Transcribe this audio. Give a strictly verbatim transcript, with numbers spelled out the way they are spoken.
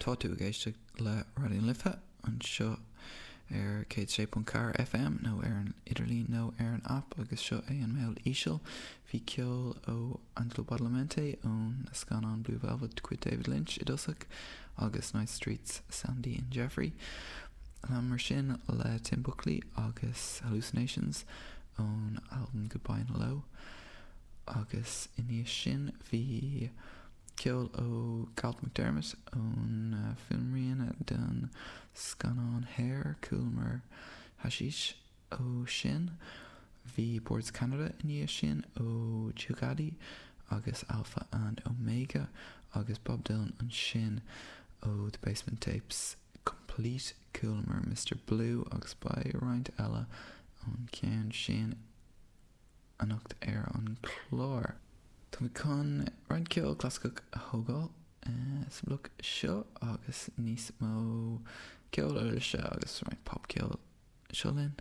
Tá tú ag éisteacht le Raidió na Life anseo ar céad sé ponc ceathair FM nó ar an idirlíon nó ar an app agus seo é an Meall Íseal. Bhí ceol ó Angelo Badalamenti ón scannán Blue Velvet de chuid David Lynch i dtosach agus Night Streets Sandy and Jeffrey. Mar sin le Tim Buckley agus Hallucinations ón album Goodbye and Hello. Agus i ndiaidh sin bhí ceol ó Galt MacDermot ón uh, fuaimrian den scannán Hair Chualamar Hashish ó sin. Bhí Boards Canada i ndiaidh sin ó Jugadi agus Alpha and Omega agus Bob Dylan ansin ó The Basement Tapes Complete Chualamar Mr. Blue agus beidh roinnt eile ón ceann sin anocht ar an chlár. Tá chun roinnt ceol clasaiceach a thógáil eh, sa bloc seo agus níos mó ceol uirlise agus roinnt popcheol seo linn.